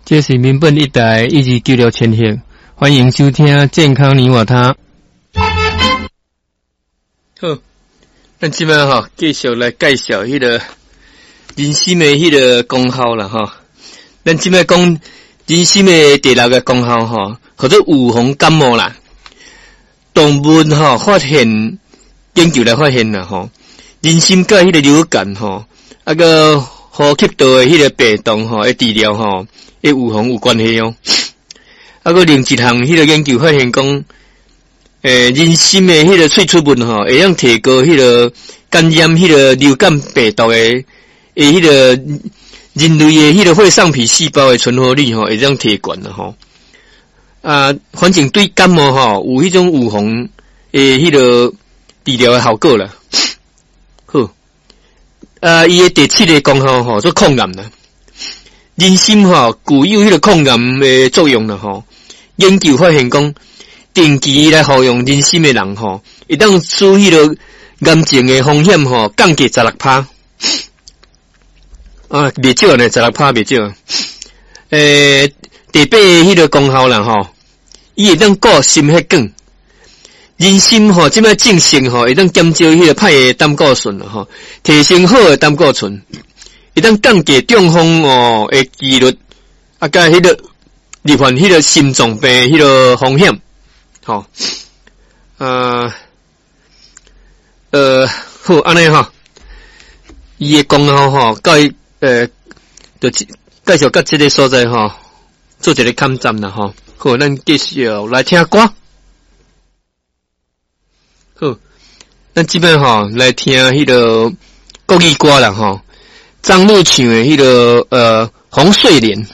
這是民本一台1296千赫，歡迎收聽健康你我他。好，咱這擺吼繼續來介紹彼個人參的彼個功效啦吼。咱這擺講人參的第六個功效吼，叫做預防感冒啦。動物吼發現研究來發現啦吼，人參佮彼個流感吼，啊閣呼吸道的彼個病毒吼的治療吼，的預防有關係哦。啊，閣另一項彼個研究發現講，人參的彼個萃取物吼，會當提高彼個感染彼個流感病毒的彼個人類的彼個血上皮細胞的存活率吼，會當提懸啦吼。啊，反正對感冒吼有彼種預防的彼個治療的效果啦。好，啊，伊的第七個功效吼，做抗癌啦。人參吼具有彼個抗癌的作用啦吼。研究發現講，定期來服用人參的人吼，會當使彼個癌症的風險吼降低16趴。啊，袂少呢，十六趴袂少。第八个彼個功效啦吼，伊會當顧心血管。人參吼，這擺證實吼，會當減少彼個歹的膽固醇吼，提升好的膽固醇，會當降低中風哦的幾率，啊，佮彼個罹患彼個心臟病彼個風險，吼，好，按呢吼，伊的功效吼，到就介紹到這个所在吼，做一个坎站啦吼。好，咱繼續來聽歌。好，咱這擺吼來聽彼个國語歌啦吼，張樂唱的彼個紅睡蓮。